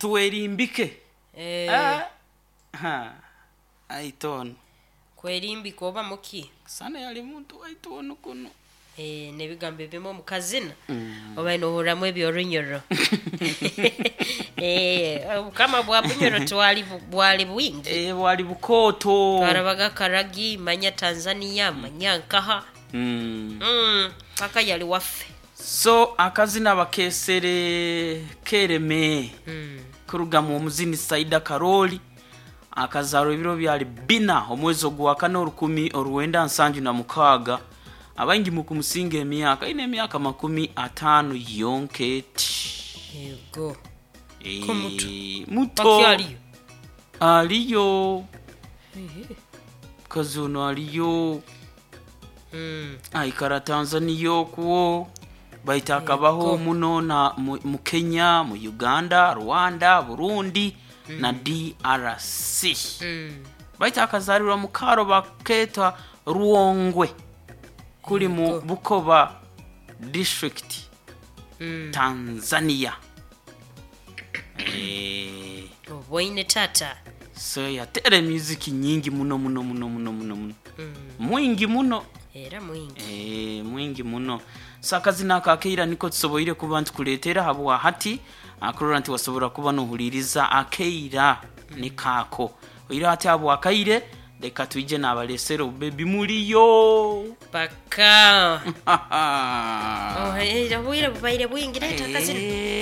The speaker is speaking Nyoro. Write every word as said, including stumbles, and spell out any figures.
Twerimbike. Eh, Eh, ha, aitono kwerimbika oba muki? Sana yali muntu waitu ono kuno. Eh, n'ebigambo ebimu omu kazina oba nohurramu ebyorunyoro. Eh, obukama bwa Bunyoro twali bu- bwali bwingi. Eh, bwali bukooto. Twarabaga Karagi, manya Tanzania, manya nkaha. Mm. Mm, paka yali waffe. So akazina bakesere kereme Mm. kurugamu omuzini Saida Karoli, akazarwa ebiro byali bina omwezi ogwakana orukumi oruwenda nsanju na mukaaga. Abaingi mukumusinga emyaka ine emyaka makumi ataano yonketi. Yego. Eh, Ko muto. Muto. Bakyaliyo? Aliyo kazi ono aliyo. Mm. Aikara Tanzania okwo, baita akabaho Yego. muno na mu, mu Kenya, mu Uganda, Rwanda, Burundi na D R C. Mm. Baita akazalirwa mu karo baketa Ruongwe kuli mu Yego. Bukoba district, Mm. Tanzania. Eh, Oboine tata. So yatera emiziki nyingi muno muno muno muno muno muno. Mm. Mwingi muno. Era mwingi. Eh, mwingi muno. So akazina aka akeira niko tusoboire kuba ntukuleetera habwa hati akurora nti wasobora kuba nohuliriza akeira nikaako oira ati habwa akaire. Leka twije nabalesera obubebi muliyo. Paka. Oh, eh, obwire bubaire bwingi, leeta akazina. Eh.